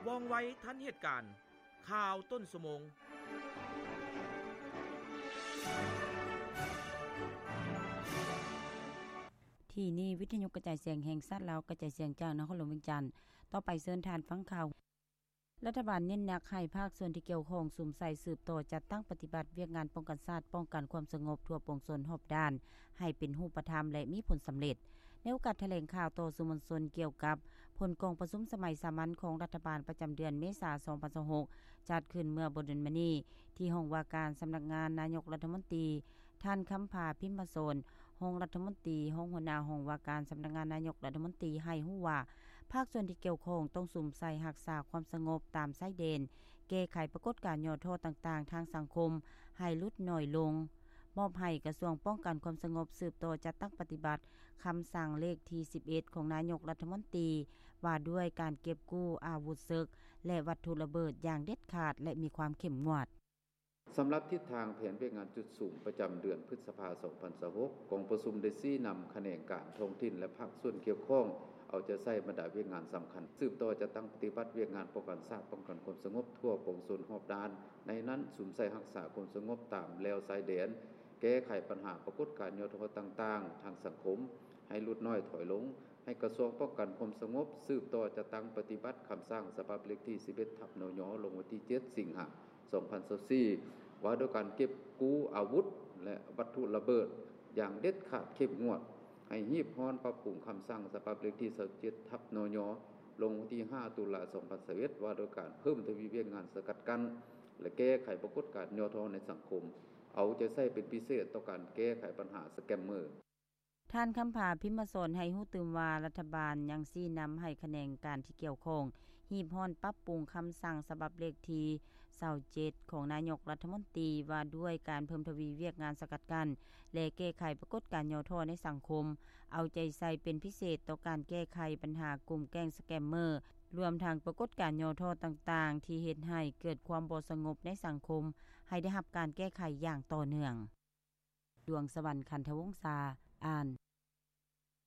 ວ່ອງໄວທັນເຫດການ. ຂ່າວຕົ້ນຊົ່ວໂມງ. ທີ່ນີ້ ວິທະຍຸກະຈາຍສຽງແຫ່ງຊາດລາວ ກະຈາຍສຽງຈາກນະຄອນຫຼວງວຽງຈັນ. ຕໍ່ໄປເຊີນທ່ານຟັງຂ່າວ. ລັດຖະບານເນັ້ນໜັກໃຫ້ພາກສ່ວນທີ່ກ່ຽວຂ້ອງສຸມໃສ່ສືບຕໍ່ຈັດຕັ້ງປະຕິບັດວຽກງານປ້ອງກັນຊາດ, ປ້ອງກັນຄວາມສະຫງົບທົ່ວປວງຊົນຮອບດ້ານ ໃຫ້ເປັນຮູບປະທຳ ແລະ ມີຜົນສຳເລັດ. ໃນໂອກາດຖະແຫຼງຂ່າວຕໍ່ສື່ມວນຊົນກ່ຽວກັບຜົນກອງປະຊຸມສະໄໝສາມັນຂອງລັດຖະບານປະຈຳເດືອນເມສາ ສອງພັນຊາວຫົກ ຈັດຂຶ້ນເມື່ອບໍ່ດົນມານີ້ ທີ່ຫ້ອງວ່າການສຳນັກງານນາຍົກລັດຖະມົນຕີ, ທ່ານ ຄຳຜາ ພິມມະສອນ ຮອງລັດຖະມົນຕີ, ຮອງຫົວໜ້າຫ້ອງວ່າການສຳນັກງານນາຍົກລັດຖະມົນຕີ ໃຫ້ຮູ້ວ່າ ພາກສ່ວນທີ່ກ່ຽວຂ້ອງຕ້ອງສຸມໃສ່ຮັກສາຄວາມສະຫງົບຕາມຊາຍແດນ, ແກ້ໄຂປາກົດການຫຍໍ້ທໍ້ຕ່າງໆທາງສັງຄົມໃຫ້ຫຼຸດໜ້ອຍລົງ, ມອບໃຫ້ກະຊວງປ້ອງກັນຄວາມສະຫງົບສືບຕໍ່ຈັດຕັ້ງປະຕິບັດຄຳສັ່ງເລກທີສິບເອັດ ຂອງນາຍົກລັດຖະມົນຕີ ວ່າດ້ວຍການເກັບກູ້ອາວຸດເສິກ ແລະ ວັດຖຸລະເບີດຢ່າງເດັດຂາດ ແລະ ມີຄວາມເຂັ້ມງວດ. ສຳລັບທິດທາງແຜນວຽກງານຈຸດສຸມປະຈຳເດືອນພຶດສະພາ ສອງພັນຊາວຫົກ ກອງປະຊຸມໄດ້ຊີ້ນຳຂະແໜງການທ້ອງຖິ່ນ ແລະ ພາກສ່ວນກ່ຽວຂ້ອງ ເອົາໃຈໃສ່ບັນດາວຽກງານສຳຄັນ ສືບຕໍ່ຈັດຕັ້ງປະຕິບັດວຽກງານປ້ອງກັນຊາດ, ປ້ອງກັນຄວາມສະຫງົບທົ່ວປວງຊົນຮອບດ້ານ, ໃນນັ້ນ ສຸມໃສ່ຮັກສາຄວາມສະຫງົບຕາມແລວຊາຍແດນ, ແກ້ໄຂບັນຫາປາກົດການຫຍໍ້ທໍ້ຕ່າງໆທາງສັງຄົມ ໃຫ້ຫຼຸດໜ້ອຍຖອຍລົງ, ໃຫ້ກະຊວງປ້ອງກັນຄວາມສະຫງົບສືບຕໍ່ຈັດຕັ້ງປະຕິບັດຄຳສັ່ງສະບັບເລກທີສິບເອັດ ທັບ ນຍ ລົງວັນທີເຈັດ ສິງຫາ ສອງພັນຊາວສີ່ ວ່າດ້ວຍການເກັບກູ້ອາວຸດ ແລະ ວັດຖຸລະເບີດຢ່າງເດັດຂາດເຂັ້ມງວດ, ໃຫ້ຮີບຮ້ອນປັບປຸງຄຳສັ່ງສະບັບເລກທີຊາວເຈັດ ທັບ ນຍ ລົງວັນທີຫ້າ ຕຸລາ ສອງພັນຊາວເອັດ ວ່າດ້ວຍການເພີ່ມທະວີວຽກງານສະກັດກັ້ນ ແລະ ແກ້ໄຂປາກົດການຫຍໍ້ທໍ້ໃນສັງຄົມ, ເອົາໃຈໃສ່ເປັນພິເສດຕໍ່ການແກ້ໄຂບັນຫາສະແກມເມີ. ທ່ານ ຄຳຜາ ພິມມະສອນ ໃຫ້ຮູ້ຕື່ມວ່າ ລັດຖະບານຍັງຊີ້ນຳໃຫ້ຂະແໜງການທີ່ກ່ຽວຂ້ອງ ຮີບຮ້ອນປັບປຸງຄຳສັ່ງສະບັບເລກທີຊາວເຈັດ ຂອງນາຍົກລັດຖະມົນຕີ ວ່າດ້ວຍການເພີ່ມທະວີວຽກງານສະກັດກັ້ນ ແລະ ແກ້ໄຂປາກົດການຫຍໍ້ທໍ້ໃນສັງຄົມ, ເອົາໃຈໃສ່ເປັນພິເສດຕໍ່ການແກ້ໄຂບັນຫາກຸ່ມແກ້ງສະແກມເມີ, ລວມທັງປາກົດການຫຍໍ້ທໍ້ຕ່າງໆ ທີ່ເຮັດໃຫ້ເກີດຄວາມບໍ່ສະຫງົບໃນສັງຄົມ ໃຫ້ໄດ້ຮັບການແກ້ໄຂຢ່າງຕໍ່ເນື່ອງ. ດວງສະຫວັນ ຄັນທະວົງສາ ອ່ານ.